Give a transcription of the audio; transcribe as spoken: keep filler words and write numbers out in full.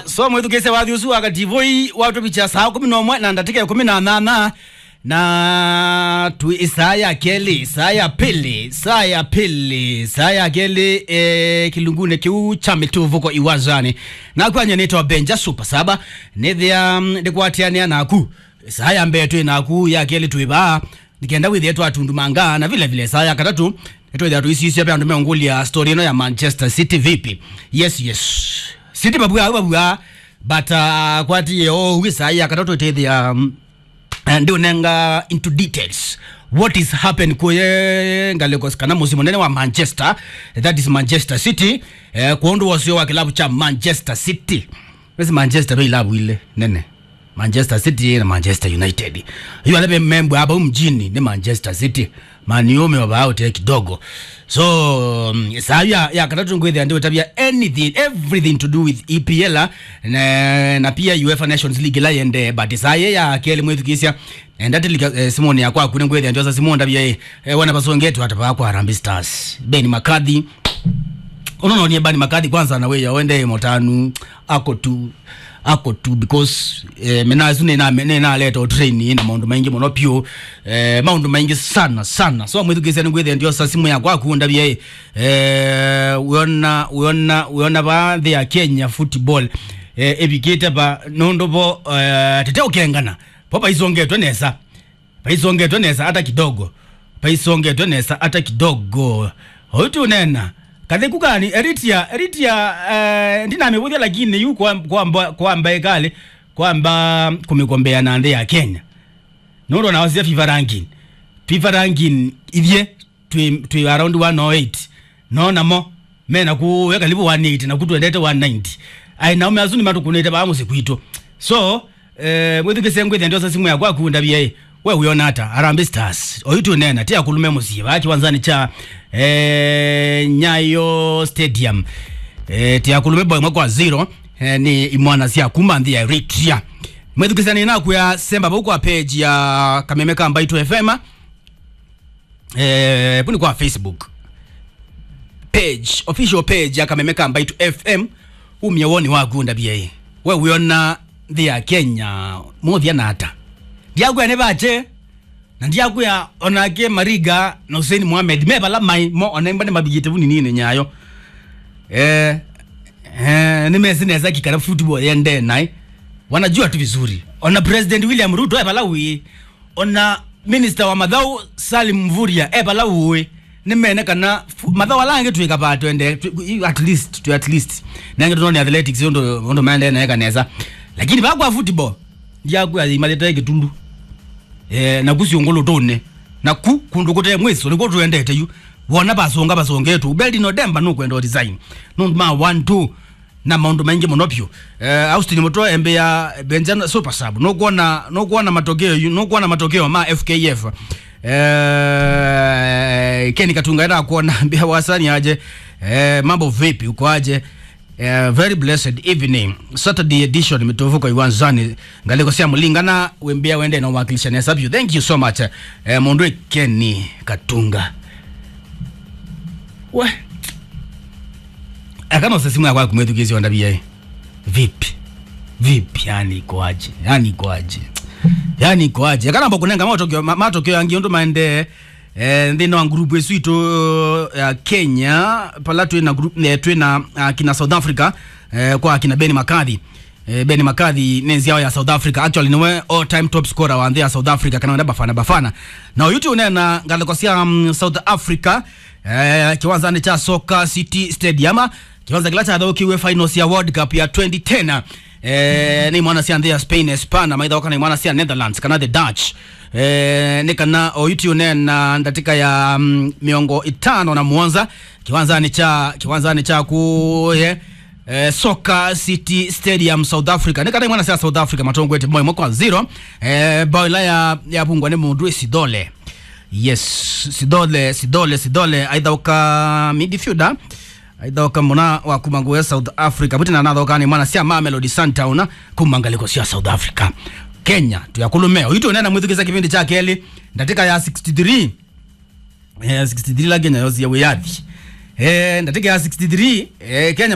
So mwĩthukĩĩsya wathi ũsu wa kativoi watũvikya saa kũmi na ũmwe na ndatĩka ĩkũmi na nyanya, na twĩ ĩsaa ya kelĩ, ĩsaa ya pili, ĩsaa ya pili, ĩsaa ya kelĩ, eh, kĩlungunĩ kĩu kya mĩtũvũko iwanzanĩ. Naku anya nĩtawa Benja Super Saba, nĩthĩa, mm, ndĩkwatĩanĩa naku. Ĩsaa ya mbee twĩ naku, ya kelĩ twĩ vaa, nĩkenda wĩthĩe twatundumanga, na vile vile ĩsaa ya katatũ nĩtwĩthĩa tũisisya ve andũ meũngũlya story ĩno ya Manchester City vipi. Yes, yes. City vavua, vavua, but, uh, kwatie o ĩsaa ya katatũ ĩtĩthĩa, um, eh, ndiũnenga into details what is happen kũye ngalĩko kana mũsyĩ mũnene wa Manchester, that is Manchester City, eh, kwa ũndũ wosio wa kĩlavu kya Manchester City. Wesi Manchester ve ilavu ile nene. Manchester City na Manchester United. Yu ala membwa hapa mjini ni Manchester City. Man U meovaa ũtee kidogo. So, mm, saa ya, ya katatũ ngwĩthĩa ndiũtavya anything, everything to do with E P L, na, na pia UEFA Nations League ĩla yendee, but saa yĩ ya kelĩ mwĩthukĩĩsya, enda tilika, eh, simoni ya kwaku nĩngwĩthĩa ndiosa simoni ndavya, eh, eh, wana vasongetwe ata vaa kwa Harambee Stars. Ben McCarthy, ũnononie Ben McCarthy kwanza na wĩya wende mũtanu, ako tu, ako tu, because, eh, mena asu nĩna, nĩnaleta train na maũndũ maingĩ mũno piũ, eh, maũndũ maingĩ sana, sana. So, mwĩthukĩĩsya nĩngwĩthĩa ndiosa simũ ya kwaku ndavya, eh, wĩona, wĩona, wĩona va nthĩ ya Kenya football, eh, ĩvikĩte va nũndũ vo, eh, tete ũkengana, vo vaisongetwe nesa. Vaisongetwe nesa hata kidogo. Vaisongetwe nesa hata kidogo. Oyu ti ũnena. Katheku kani, Eritia, Eritia, eh, ndinamĩvũthya lakini yu kwa, kwa mba, kwa mba ĩkalĩ, kwa mba kũmĩkombea na nthĩ ya Kenya. Nũndũ na wasya FIFA ranking. FIFA ranking ithyĩ twĩ, twĩ around one oh eight. No namo, me na kũya karibu one eighty, na kũtwendete one ninety. Ai, naume asu nĩmatũkũnĩte vaa mũsyĩ kwitũ. So, eh, mwĩthukĩĩsya ngwĩthĩa ndiosa simũ ya kwaku ndavya, ĩ, we wĩona ata? Harambee Stars. Oyu tũnena, ti akũlũme mũsyĩ, vaa kĩwanzanĩ kya, eh, Nyayo Stadium. Eh, ti akũlũme bao ĩmwe kwa zero, eh, nĩ imwana sya kuma nthĩ ya Eritrea. Mwĩthukĩĩsya nĩnakwĩa semba vau kwa page ya Kameme ka Mbaitũ F M. Eh, vu nĩ kwa Facebook page, official page ya Kameme ka Mbaitũ F M. Umie woni waku ndavya ĩ, we wĩona nthĩ ya Kenya mũthya na ata? Ndiakwĩa nĩ vache, na ndiakwĩa onake Mariga na Hussein Mohamed me vala mai mo, ona imba nĩmavikĩte vu ninine Nyayo. Eh, eh, nĩmesĩ nesa kĩkala football yendee naĩ. Wanajua tu vizuri. Ona President William Ruto e vala wĩ. Ona minister wa mathau Salim Mvurya e vala ũĩ. Nĩmene kana fu- mathau ala angĩ twĩka vaa twende, twi- at least, twi at least. Nangĩ tũnone athletics ũndũ, ũndũ maendee naeka nesa. Lakini vaa kwa football, ndiakwĩa imathĩte kĩtundu. Eh, naku syũngũlũtũnĩ. Naku kũndũ kũte mwĩso, nĩkuo tũendete yu. Wona vasonga vasongetwe. Ubeldi no demba nũkwenda resign. Nũndũ ma one two. Na maũndũ maingĩ mũno vyũ. Eh, Austin Mũtwe embĩa Benja Super Sub. Nũkwona, nũkwona matokeo yu, nũkwona matokeo ma F K F. Eh, Ken Katunga enda kuona mbĩa wasani aje. Eh, mambo vipi, uko aje? Eh, very blessed evening. Saturday edition, mĩtũvũko iwanzani. Ngalĩko sya mũlingana, wĩmbĩa wende na wakilisha nesa vyũ. Thank you so much. Eh, mũndũ Ken Katunga. We. Akana ũsesimu yakwa kumwĩthukĩĩsya ondavia ĩ. Vipi? Vipi? Yani ikoaje? Yani ikoaje? Yani ikoaje? Akana mbo kũnenga matokeo, ma- matokeo angĩ ũndũ maendee, eh, nthĩnĩ wa group ĩsu itũ ya Kenya, pala twĩ na group, eh, twĩ na, ah, kina South Africa, eh, kwa kina Ben McCarthy. Eh, Ben McCarthy nĩ nzyawa ya South Africa. Actually, nĩwe all time top scorer wa nthĩ ya South Africa, kana wenda Bafana Bafana. Na ũyu ti ũneena ngalĩko sya, mm, South Africa, eh, kĩwanzanĩ kya Soccer City Stadium, kĩwanza kĩla kyathaũkiwe finals ya World Cup ya twenty ten. Eh, nĩ imwana sya nthĩ ya Spain, Espana, maithaũka na imwana sya Netherlands, kana the Dutch. Eh, nĩ kana ũyu ti ũneena ndatĩka ya, mm, mĩongo ĩtano na mũonza, kĩwanzanĩ kya, kĩwanzanĩ kya kũye, eh, Soccer City Stadium, South Africa. Nĩ kana imwana sya South Africa matongwete bao ĩmwe kwa zero. Eh, bao ĩla ya, yavungwa nĩ mũndũ Sidole. Yes, Sidole, Sidole, Sidole, aithaũka midfielder. Aithaũka mũna wa kuma ngũe South Africa. Vuti na nathaũka nĩ mwana sya Mamelodi Sundowns kuma ngalĩko sya South Africa. Kenya, tuyakũlũme. Ũyu tũnena mwĩthukĩĩsya kĩvĩndĩ kya kelĩ, ndatĩka ya sixty-three. Eh, sixty-three la Kenya yosie wĩyathi. Eh, ndatĩka ya sixty-three, eh, Kenya